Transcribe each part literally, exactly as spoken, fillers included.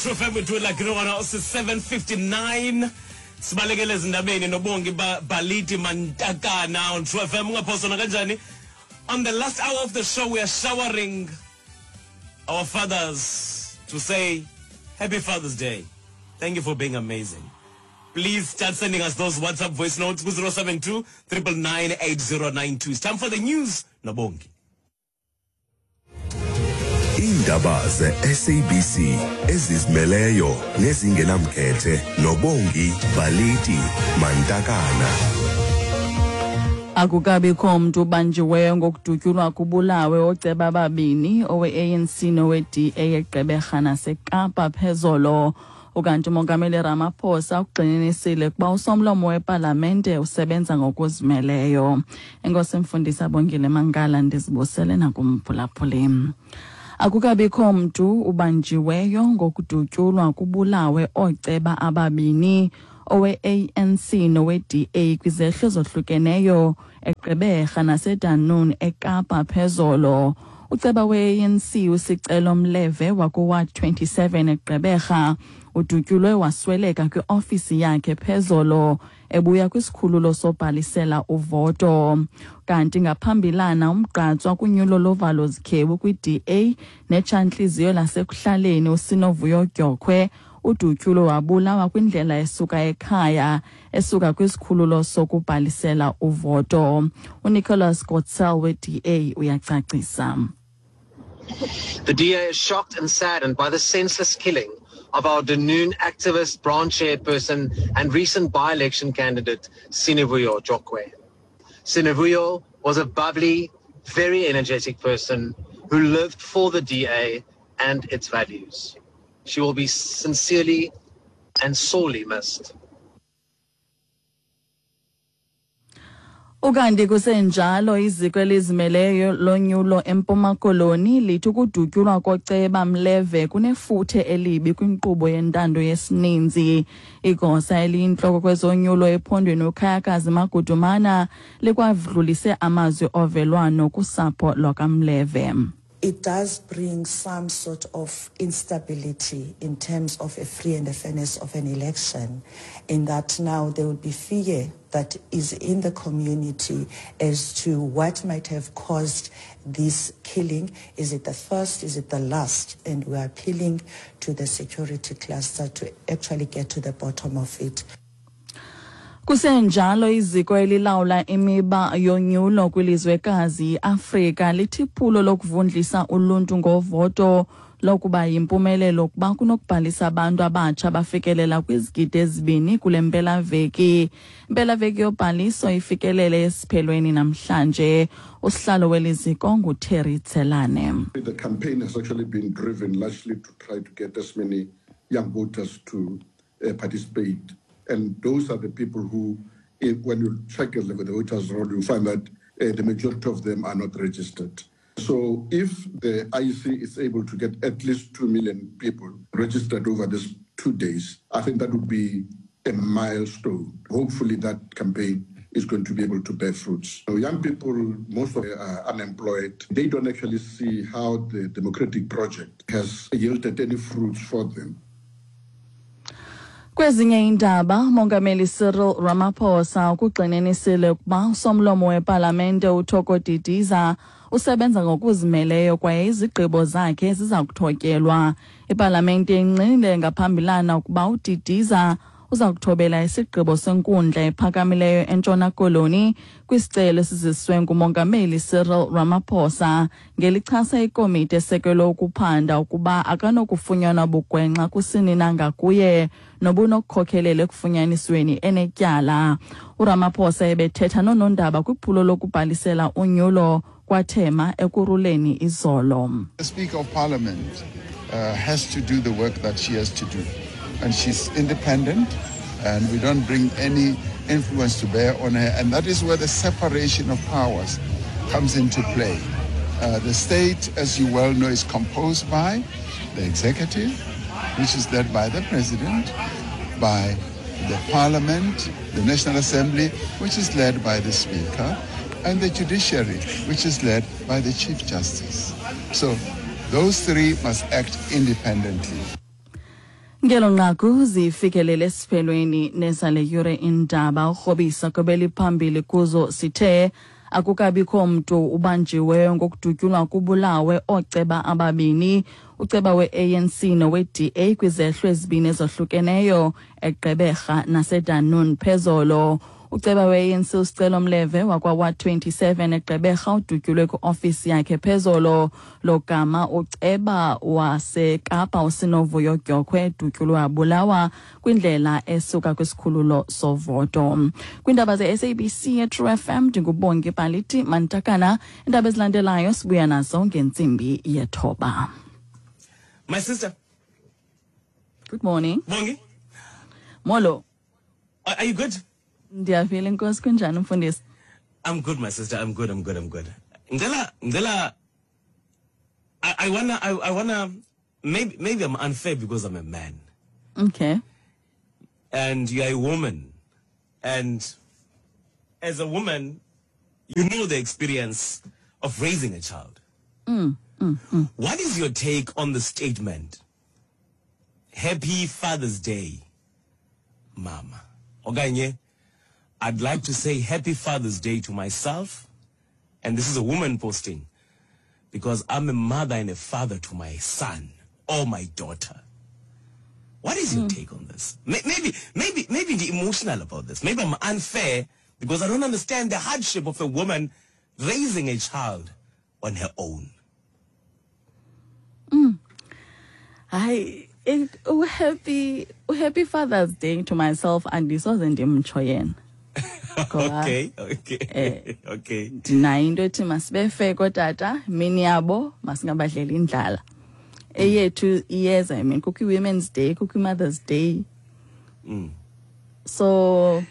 True F M, we do it like no one else. It's seven fifty-nine. Sibalekele ezindabeni noBongi Baliti Mantakana on True F M. Ungaphoswa kanjani? On the last hour of the show, we are showering our fathers to say Happy Father's Day. Thank you for being amazing. Please start sending us those WhatsApp voice notes zero seven two nine nine nine eight zero nine two. It's time for the news. Nobongi. Iindaba ze-S A B C ezizimeleyo nezingenamkhethe noBongi Baliti Mantakana. Akukabikho mntu ubanjiweyo ngokudutyulwa kubulawe ooceba ababini, owe-A N C nowe-D A, eGqeberha naseKapa phezolo. Ukanti uMongameli Ramaphosa ugxininisile ukuba usomlomo wepalamente usebenza ngokuzimeleyo. Enkosi, Mfundisi Abongile Mankala, ndizibusele nakumphulaphuli. Akukabikho mntu ubanjiweyo ngokudutyulwa kubulawe ooceba ababini, owe-A N C nowe-D A, kwizehlo ezohlukeneyo eGqeberha naseDunoon eKapa phezolo. Uceba we-A N C uSicelo Mleve wakuWard twenty-seven eGqeberha udutyulwe wasweleka kwiofisi yakhe phezolo ebuya kwisikhululo sobhalisela uvoto. Kanti ngaphambilana, umgqatswa kunyulo lovalo zikhewu kwi-D A netshantliziyo lasekuhlaleni uSinovuyo Dyokhwe udutyulwe wabulawa kwindlela esuka ekhaya esuka kwisikhululo sokubhalisela uvoto. UNicholas Gotsel we-D A uyacacisa. The D A is shocked and saddened by the senseless killing of our Dunoon activist, branch chairperson, and recent by-election candidate, Sinovuyo Jokwe. Sinovuyo was a bubbly, very energetic person who lived for the D A and its values. She will be sincerely and sorely missed. Ukanti kusenjalo, iziko elizimeleyo lonyulo eMpuma Koloni lithi ukudutyulwa koceba Mleve kunefuthe elibi kwinkqubo yentando yesininzi. Igosa eliyintloko kwezonyulo ephondweni uKhayakazi Magudumana likwadlulise amazwi ovelwano kusapho lwakaMleve. It does bring some sort of instability in terms of a free and a fairness of an election, in that now there will be fear that is in the community as to what might have caused this killing. Is it the first? Is it the last? And we are appealing to the security cluster to actually get to the bottom of it. Kusenjalo, iziko elilawula imiba yonyulo kwilizwekazi iAfrika lithi iphulo lokuvundlisa uluntu ngovoto lokuba yimpumelelo kuba kunokubhalisa abantu abatsha bafikelela kwizigidi ezibini kule mpelaveki. Impelaveki yobhaliso ifikelele esiphelweni namhlanje. Usihlalo weli ziko nguTerry Tselane. The campaign has actually been driven largely to try to get as many young voters to uh, participate. And those are the people who, if, when you check the voters' roll, you find that uh, the majority of them are not registered. So if the I E C is able to get at least two million people registered over these two days, I think that would be a milestone. Hopefully that campaign is going to be able to bear fruits. So young people, most of them are unemployed. They don't actually see how the democratic project has yielded any fruits for them. Kwezinye iindaba, Mongameli Cyril Ramaphosa ukugxininisile ukuba usomlomo wepalamente uThoko Didiza usebenza ngokuzimeleyo kwaye izigqibo zakhe ziza kuthotyelwa. Ipalamente ingqinile ngaphambilana ukuba uDidiza uza kuthobela isigqibo senkundla ephakamileyo eNtshona Koloni kwisicelo esiziswe nguMongameli Cyril Ramaphosa ngelichasa ikomiti esekelwe ukuphanda ukuba akanokufunyanwa bugwenxa kusini na ngakuye nobunokukhokelela ekufunyanisweni enetyala. URamaphosa ebethetha noonondaba kwiphulo lokubhalisela unyulo kwaThema Ekurhuleni izolo. The Speaker of Parliament uh, has to do the work that she has to do. And she's independent, and we don't bring any influence to bear on her. And that is where the separation of powers comes into play. Uh, the state, as you well know, is composed by the executive, which is led by the president, by the parliament, the National Assembly, which is led by the speaker, and the judiciary, which is led by the Chief Justice. So those three must act independently. Ngelo nqaku zifikelele esiphelweni nezale yure indaba urhobisa kwebeliphambili kuzo sithe akukabikho mntu ubanjiweyo ngokudutyulwa kubulawe ooceba ababini, uceba we-A N C nowe-D A kwizehlo ezibini ezohlukeneyo eGqeberha naseDunoon phezolo. Uceba we-A N C uSicelo Mleve wakwa-Ward twenty-seven eGqeberha udutyulwe kwi-ofisi yakhe phezolo, logama uceba waseKapa uSinovuyo Dyokhwe edutyulwe wabulawa kwindlela esuka kwisikhululo sovoto. Kwiindaba ze-S A B C eTrue F M ndinguBongi Baliti Mantakana. Iindaba ezilandelayo sibuya nazo ngentsimbi yethoba. My sister. Good morning. Bongi. Molo. Are, are you good? Ndiyaphila, inkosi. Kunjani mfundisi? I'm good, my sister. I'm good. I'm good. I'm good. Ngicela, ngicela, I, I wanna, I, I wanna, maybe, maybe I'm unfair because I'm a man. Okay. And you're a woman. And as a woman, you know the experience of raising a child. Mm, mm, mm. What is your take on the statement, Happy Father's Day, Mama? Okanye, I'd like to say Happy Father's Day to myself, and this is a woman posting, because I'm a mother and a father to my son or my daughter. What is your mm. take on this? Maybe, maybe, maybe the emotional about this. Maybe I'm unfair because I don't understand the hardship of a woman raising a child on her own. Mm. I it, oh, happy, oh, happy Father's Day to myself, and this wasn't ndimtsho. Okay, okay, eh, okay. Ndinayo into ethi masibefe kootata, mini yabo masingabadleli indlala. Eyethu iyeza, I mean, kukho i-Women's Day, kukho i-Mother's Day. Mm. So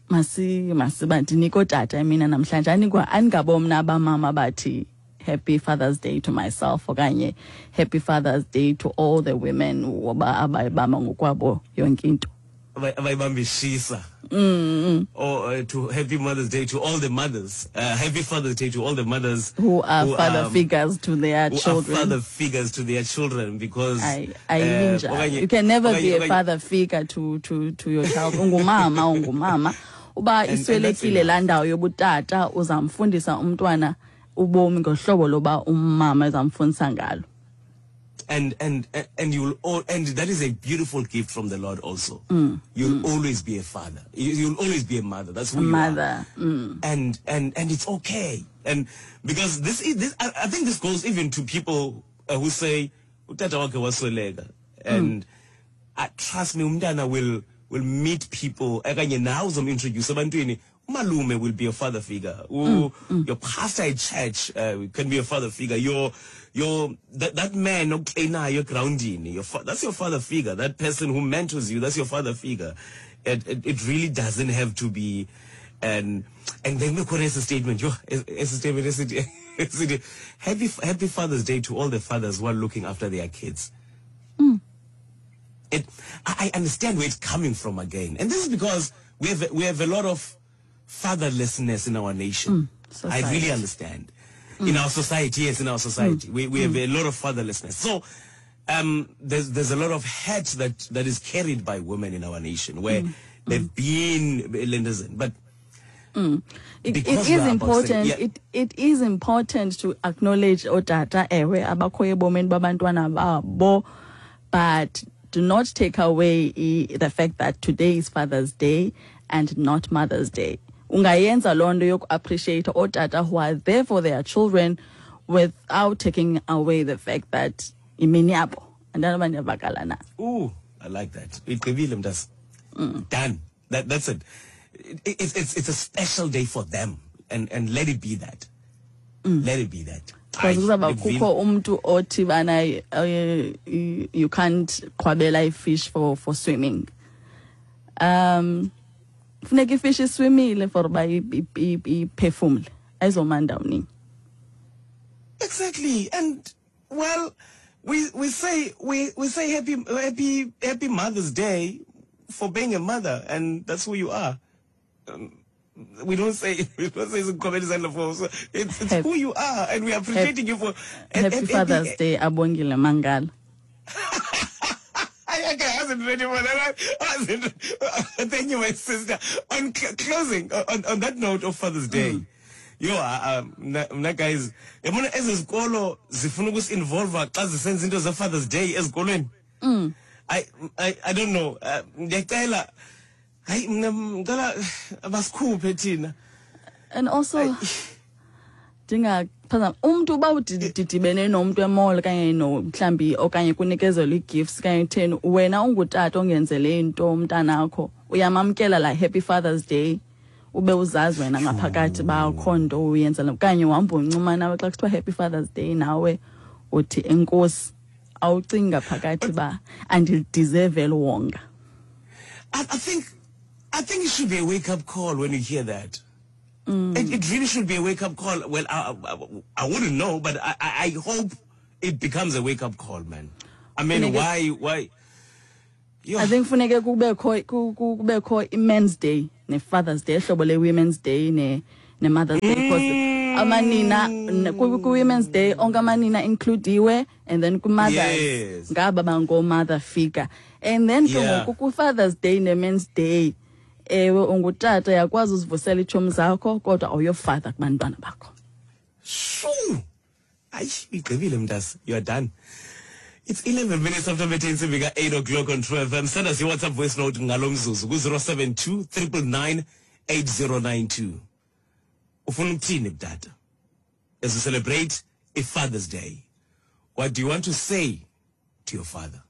masi masiba ndinike ootata mina namhlanje, anikwa andingabo mna abamama bathi Happy Father's Day to myself okanye Happy Father's Day to all the women abayibamba ngokwabo yonke into. Abayibambishisa. Mm. Or uh, to Happy Mother's Day to all the mothers. Uh, Happy Father's Day to all the mothers who are who, father um, figures to their who children. Are father figures to their children, because I, I uh, you can never be a father figure to to to your child. Ungumama, ungumama. Uba iswelekile laa ndawo yobutata uzamfundisa umntwana ubomi ngohlobo loba umama ezamfundisa ngalo. And and and you'll all, and that is a beautiful gift from the Lord also. Mm. You'll mm. always be a father. You, you'll always be a mother. That's who you mother. are. Mm. And and and it's okay. And because this is this, I, I think this goes even to people uh, who say utata wakhe wasweleka, and mm. uh, trust me, umntana will will meet people. Okanye now uzom introduce ebantwini. Umalume will be a father figure. Mm, mm. Your pastor at church uh, can be a father figure. Your your that that man your grounding, your that's your father figure. That person who mentors you, that's your father figure. It it, it really doesn't have to be, and and then we put a statement. Yo, a statement. Happy Happy Father's Day to all the fathers who are looking after their kids. Mm. It I understand where it's coming from again, and this is because we have we have a lot of fatherlessness in our nation. Mm, I really understand. Mm. In our society, yes, in our society. Mm. We we have mm. a lot of fatherlessness. So um, there's there's a lot of hurt that, that is carried by women in our nation where mm. they've been lenders in. But mm. it, it is important saying, yeah. it it is important to acknowledge otata ewe abakhoyo ebomini babantwana babo, but do not take away the fact that today is Father's Day and not Mother's Day. Ungayenza loo nto yoku-appreciate ootata who are there for their children without taking away the fact that imini yabo. Andanoba ndiyavakala na. Ooh, I like that. Igqibile mntase. Done. That, that's it. It, it, it's, it's a special day for them, and, and let it be that. Mm. Let it be that. Because kuzawuba kukho umntu othi bana you can't qhwabela ifish for, for swimming. Um, funeka ifish iswimile for uba iphefumle, ayizoma ndawoni. Exactly. And well, we we say we, we say happy happy happy Mother's Day for being a mother, and that's who you are. Um, we don't say we don't say it's it's who you are, and we are appreciating you for Happy, happy Father's Day, Abongile Mangala. wasn't ready for that. I wasn't. Thank you, my sister. On cl- closing, on, on that note of Father's Day, mm. yo, um, mna guys, yabona ezi zikolo zifuna ukusi-involve xa zisenza into ze-Father's Day ezikolweni. Mm. I, I, I don't know. Uh, Ndiyacela, hayi mna ngicela basikhuphe thina. And also ndingaphazama umntu uba udidibene nomntu e-mall okanye no mhlambi okanye kunikezelwa ii-gifts okanye kutheni, wena ungutata ongenzele into umntanakho, uyamamkela la Happy Father's Day, ube uzazi wena ngaphakathi uba akho nto uyenzela, okanye uhamba uncuma nawe xa kuthiwa Happy Father's Day, nawe uthi enkosi, awucingi ngaphakathi uba andilideserve eli wonga. I, I think I think it should be a wake-up call when you hear that. Mm. It, it really should be a wake-up call. Well, I, I, I wouldn't know, but I, I I hope it becomes a wake-up call, man. I mean, Funeke- why, why? Yo, I think funeke kubekho ku- ku- kubekho i-Men's Day ne-Father's Day, ehlobo le-Women's Day ne ne-Mother's Day, because amanina n- ku- ku-Women's Day onke amanina includiwe, and then ku-Mothers Yes. ngaba bangoo-mother figure, and then ke Yeah. ngoku ku-Father's Day ne-Men's Day, ewe, ungutata, uyakwazi uzivusela iitshomi zakho, kodwa awuyofather kubantwana bakho. Shoo! Ayi, igqibile mntase. You are done. It's eleven minutes after bethe intsimbi ka-eight o'clock on True F M. Send us your WhatsApp voice note ngalo mzuzu ku-zero seven two nine nine nine eight zero nine two. Ufuna ukuthini kutata? As we celebrate a Father's Day, what do you want to say to your father?